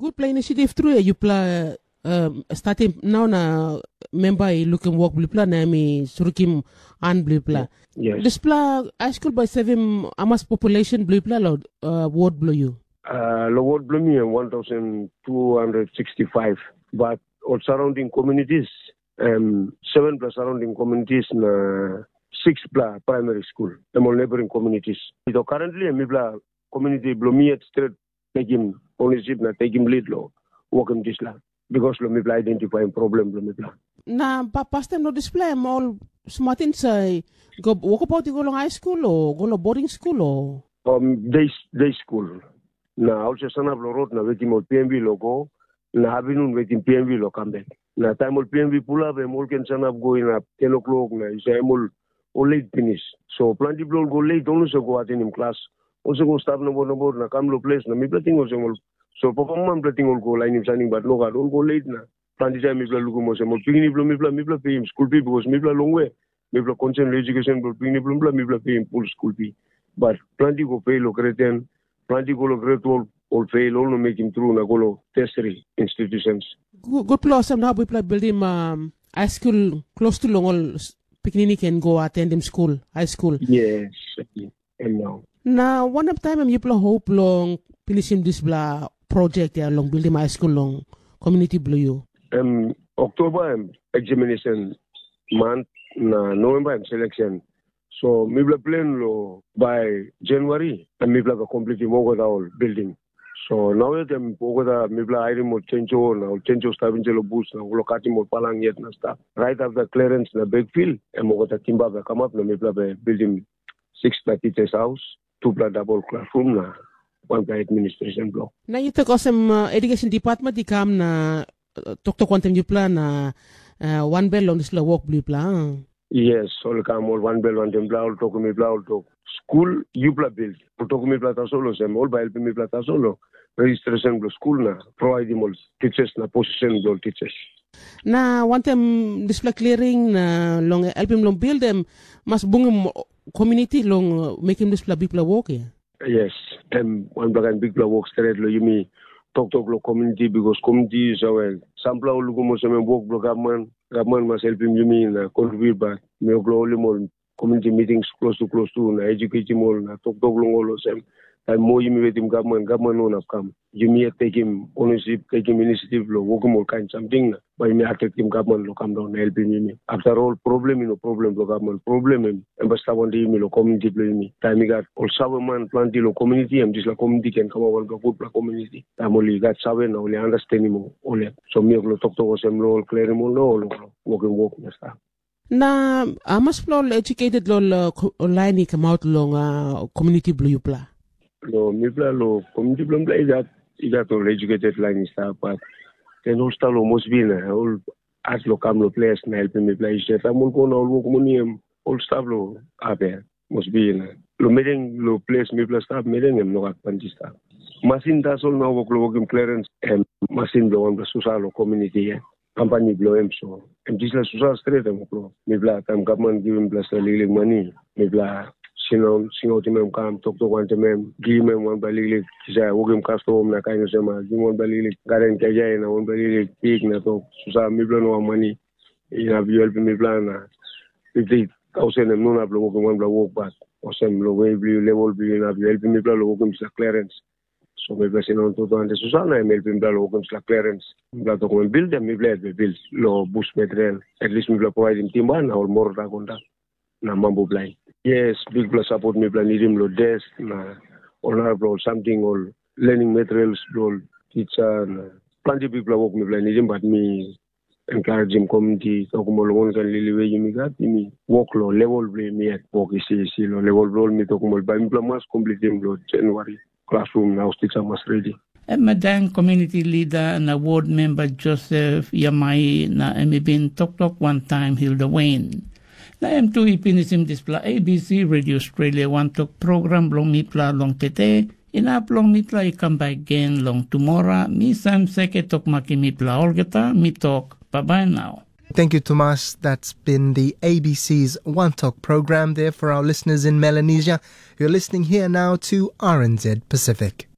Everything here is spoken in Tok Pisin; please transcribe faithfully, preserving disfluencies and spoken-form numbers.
Gutpela inisiatif tru ya yupela um, statim nau na memba i lukim wok bilipela na em i surukim han bilipela. Yes. Dispela high school bai sevim amas population bilipela lo uh, ward bilong you. Uh, lo ward bilong mi em one thousand two hundred sixty-five, but all surrounding communities em seven plus surrounding communities na six pla primary school em all neighboring communities. So currently em mipela community bilong mi yet straight taking ownership na taking lead lo working this land because lo mipela identifying problem lo mipela. Na pa pastem lo dispela em ol smartin sa go wokabaut i go long high school o go long boarding school o? Um, day, day school. Na also sanap lo road na wetim ol P M V lo go na havinun wetim P M V lo come back. Na taim ol P M V pulap em ol ken sanap go inap ten o'clock na isa em ol ol late pinis. So planti bilong ol go late ol no go atenim klas. Ol go stap nobor nobor na kam lo ples na mipela ting olsem ol so papa mama mipela ting ol go lainim saning bat nogat ol go late na planti taim mipela lukim olsem ol pikinini bilong mipela mipela peim skul pi bikos mipela longwe mipela konsen long edukesen bilong pikinini bilong mipela mipela peim pul skul pi. Bat planti go pe long gret ten, planti go long gret twelve, ol fel ol no mekim tru na go long tertiary institutions. Gutpela olsem na mipela bildim um, high school klostu long ol pikinini ken go atendim skul, high school. Yes, em nau. Na wanem taim em yupela hop long pinisim dispela projek ya long bildim high school long komuniti bilong yu? Em Oktoba em examination month na November em selection. So mipela plan lo by January em mipela ga completim olgeta ol building. So nau yet em olgeta mipela hairim ol chenjo na ol chenjo stap inside lo bus na ol katim ol palang yet na stap. Right after clearance na backfill em olgeta timba be kamap na mipela be building six by teachers house, two pla double classroom na one pla administration block. Na yu tok olsem uh, education department i kam na uh, toktok wantaim yupela na uh, wanbel long dispela wok bilong yupela. Yes, ol kam ol wanbel wantaim bla ol tok mipela ol tok. Skul yupela bil, ol tok mipela tasol olsem, ol bai helpim mipela tasol lo registration bilong skul na providim ol teachers na position bilong teachers. Na wantaim dispela clearing na long helpim long build em mas bungim community long uh, mekim dispela bikpela wok ya. Yes, em wanpela kain bikpela wok stret long yumi toktok long community because community is our sampela ol lukim olsem em wok bilong gavman, gavman mas helpim yumi na contribute bat mi ol holim ol community meetings close to close to na educatim ol na toktok long ol olsem taim moa yumi wetim gavman, gavman no inap kam. Yumi yet tekim ownership, tekim initiative long wokim ol kain samting na bai yumi atraktim gavman long kam daun na helpim yumi. After ol problem i no problem bilong gavman, problem em em bai stap wantaim yumi long komuniti bilong yumi. Taim i gat ol saveman planti long komuniti, em dispela komuniti ken kamap wanpela gutpela komuniti. Taim ol i gat save na ol i understandim ol yet. So mi ol toktok olsem long ol klerim ol na ol wokim wok na stap. Na hamas pela ol educated long ol uh, lain i kamaut long uh, community bilong yupela? Lo mipela lo community bilong mipela i gat i gat ol educated lain i stap bat then ol stap lo mosbi na ol as lo kam lo ples na helpim mipela i set am ol go na ol wok moni em ol stap lo ape mosbi na lo mereng lo ples mipela stap mereng em no gat panti stap. Masin tasol na wok lo wokim klerens em masin bilong wanpela susa lo komuniti ya. Kampani bilong em so em dispela susa stret em wok lo mipela taim gavman givim mipela liklik mani mipela sindaun singautim em kam toktok wantaim em givim em wanpela liklik kisai wokim kastom na kain olsem givim wanpela liklik garen kaikai na wanpela liklik pik na tok susa mipela no mani inap yu helpim mipela na fifti tausen em no inap long wokim wanpela wok bat olsem long we bilong yu level bilong yu inap yu helpim mipela long wokim dispela klerens. So mipela sindaun tutu ante susa na em helpim mipela long wokim dispela klerens. Mipela tok wen bildim mipela yet bil long bus material. At least mipela provaidim timba na ol morota kontak na mambu bilai. Yes, bikpela sapot mipela nidim long desk na ol narapela ol samting ol learning materials bilong ol tisa na planti bikpela wok mipela nidim bat mi encouragim community tokim ol wankain lili we yumi gat yumi wok long level bilong yumi yet wok isi isi long level bilong ol mi tokim ol bai mipela mas komplitim long January klasrum na haus tisa mas redi. Em madang community leader na ward member Joseph Yamai na em i bin toktok wantaim Hilda Wayne. Na em tu i pinisim dispela A B C Radio Australia wantok program bilong mipela long tete, inap long mipela i kam bek gen long tumora, mi Sam Seke tok makim mipela olgeta, mi tok, bye bye now. Thank you, Thomas. That's been the A B C's One Talk program there for our listeners in Melanesia. You're listening here now to R N Z Pacific.